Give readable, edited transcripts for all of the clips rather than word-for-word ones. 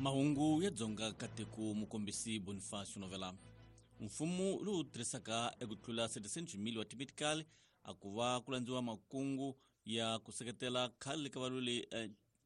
Mahungu ya Dzonga Kateko mukombisi Bonifacio Novela. Mfumo lowu tirhisaka eku tlula 700 mil wa timedical a ku va ku landziwa makungu ya ku seketela khale ka valweli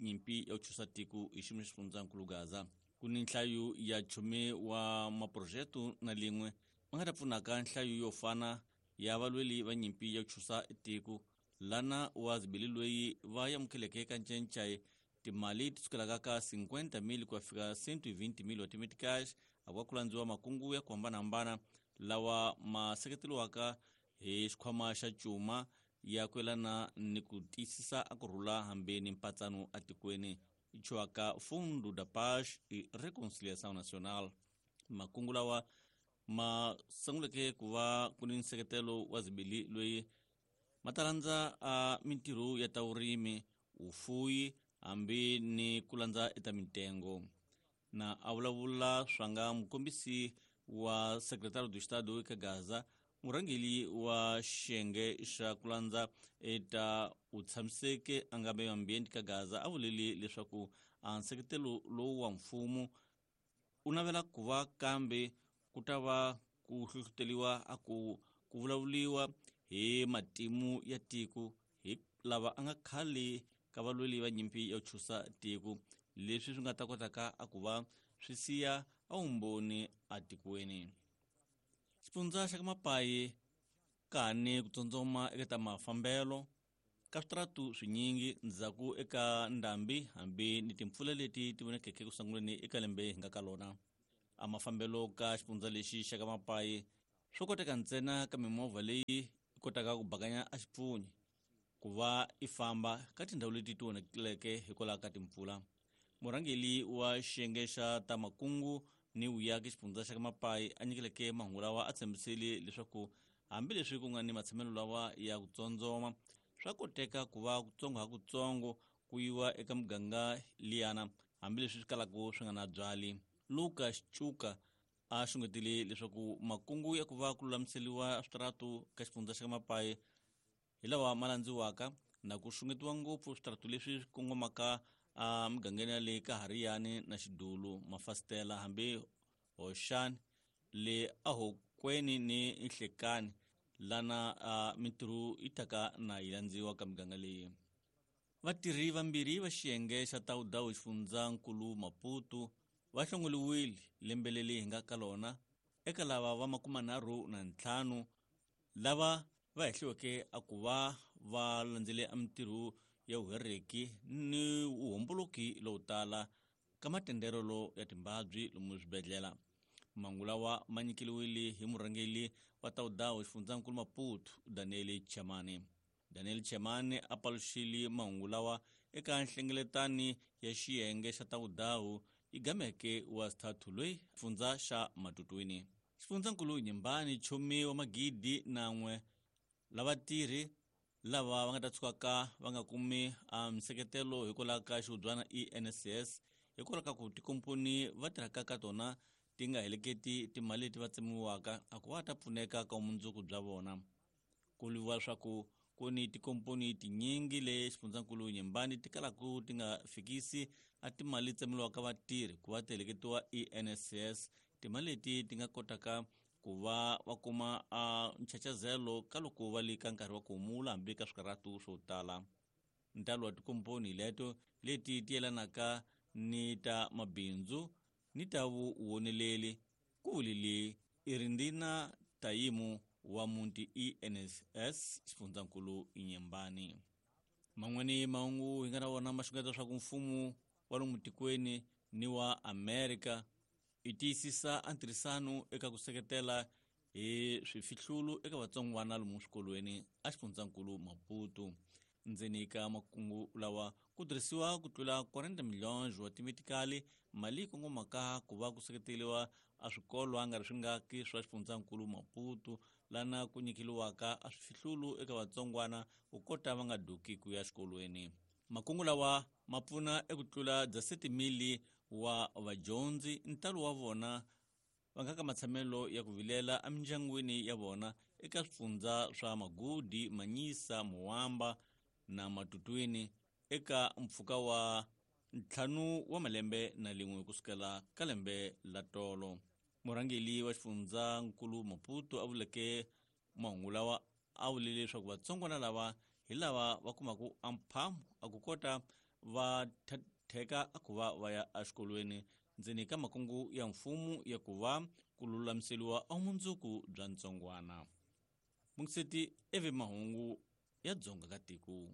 nyimpi ya ku chusa tiko hi xiyimo xa xifundzankulu Gaza. Ku ni nhlayo ya chume wa maprojeto na lin'we ma nga ta pfunaka nhlayo yo fana ya valweli va nyimpi ya ku chusa tiko lana wa zibili loyi va amukeleke ka ncencai timali ti sukelaka ka 50 mil ku ya fika 120 mil wa timeticash a ku va ku landziwa makungu ya ku hambanahambana lawa ma seketeriwaka hi xikhwama xa cuma ya ku yelana ni ku tiyisisa a ku rhula hambi ni mpatsano atikweni ichiwaka Fundo da Paz e Reconciliação Nacional. Makungu lawa ma sunguleke ku va ku ni nseketelo wa zibili loyi ma ta landza a mintirho ya ta vurimi, vufuwi hambi ni ku landza eta mitengo. Na a vulavula swanga mukombisi wa secretário do Estado eka Gaza, murhangeri wa xiyenge xa ku landza eta vutshamiseki a nga meio ambiente ka Gaza a vulile leswaku a nseketelo lowu wa mfumo u navela ku va kambe ku ta va ku hlohloteriwa a ku ku vulavuriwa hi matimu ya tiko hi lava a nga khale ka valweli va nyimpi ya ku chusa tiko, leswi swi nga ta kotaka a ku va swi siya a vumbhoni atikweni. Xifundza xa ka Mapayi kani ku tsotsoma eka ta mafambelo ka switaratu swinyingi ndzhaku eka ndhambi hambi ni timpfula leti ti vonakeke ku sunguleni eka lembe hi nga ka lona. A mafambelo ka xifundza lexi xa ka Mapayi swo koteka ntsena ka mimovha leyi yi kotaka ku bakanya a xipfunyi ku va i famba ka tindhawu leti ti onhakileke hikwalaho ka timpfula. Murhangeri wa xiyenge xa ta makungu ni vuyaki xifundza xa ka Mapayi a nyikeleke mahungu lawa a tshembisile leswaku hambileswi ku nga ni matshamelo lawa ya ku tsondzoma swa koteka ku va kutsongo ha kutsongo ku yiwa eka muganga liyana hambileswi swi kalaka swi nga na byali. Lucas Chuka a xungetile leswaku makungu ya ku va ku lulamiseriwa switaratu ka xifundza xa ka Mapayi hi lawa ma landziwaka na ku xungetiwa ngopfu switaratu leswi swi kongomaka a mugangeni ya le ka Hariyani na Xidulu, Mafasitela hambi Hoxani le Ahokweni ni Nhlekani lana a mintirho yi taka na yi landziwa ka miganga leyi. Vatirhi vambirhi va xiyenge xa Tawudawu xifundzankulu Maputo va hlongoliwile lembe leri hi nga ka lona eka lava va 35 lava va hehliweke a ku va va landzele a mintirho ya vuhereki ni vuhomboloki lowu tala ka matenderelo ya timbabyi lomu swibedhlele. Mangu lawa ma nyikeliwile hi murhangeri wa Tawudawu xifundzankulu Maputo Daniel Chamani. Daniel Chamani a paluxile mahungu lawa eka nhlengeletani ya xiyenge xa Tawudawu yi gameke wa sithathu loyi xifundza xa Matutwini. Xifundzankulu Nyembani chumi wa 1,001 lavatirhi lava va nga ta tshukaka va nga kumi a nseketelo hikwalaho ka xihubyana ENSS hikwalaho ka ku tikomponi va tirhaka ka tona ti nga heleketi timali leti va tsemiwaka a ku va ta pfuneka ka vumundzuku bya vona. Ku vuriwa leswaku ku ni tikomponi tinyingi le xifundzankulu Nyembani ti kalaka ti nga fikisi a timali tsemiwaka vatirhi ku va ti heleketiwa ENSS, timali leti ti nga kotaka ku va va kuma a nchachazelo ka loko va le ka nkarhi wa ku humula hambi ka swikarhatu swo tala. Ntalo wa tikomponi leto leti ti yelanaka ni ta mabindzu ni ta vuwoneleli ku vulile Irindina Tayimu wa muti ENSS xifundzankulu Nyembani. Man'wani mahungu hi nga na wona ma xungeta leswaku mfumo wa lomu tikweni ni wa Amerika i tiyisisa a ntirhisano eka ku seketela hi swifihlulu eka vatsongwana lomu swikolweni a xifundzankulu Maputo. Ndzeni ka makungu lawa ku tirhisiwa ku tlula 40 milhões wa timetikali mali yi kongomaka ku va ku seketeriwa a swikolo a nga ri swingaki swa xifundzankulu Maputo lana ku nyikeliwaka a swifihlulu eka vatsongwana ku kota va nga duki ku ya xikolweni. Makungu lawa ma pfuna eku tlula 17,000 wa vadyondzi ntalo wa vona va nga ka matshamelo ya ku vilela emindyangwini ya vona eka swifundza swa Magudi, Manyisa, Muwamba na Matutwini eka mpfhuka wa 5 wa malembe na lin'we kusukela ka lembe la tolo. Murhangeri wa xifundzankulu Maputo a vuleke mahungu lawa a vulile leswaku vatsongwana lava hi lava va kumaka amphamu a ku kota va theka a ku va va ya exikolweni ndzeni ka makungu ya mfumo ya ku va ku lulamiseriwa a vumundzuku bya ntsongwana. Mungiseti evi mahungu ya Dzonga ka tiko.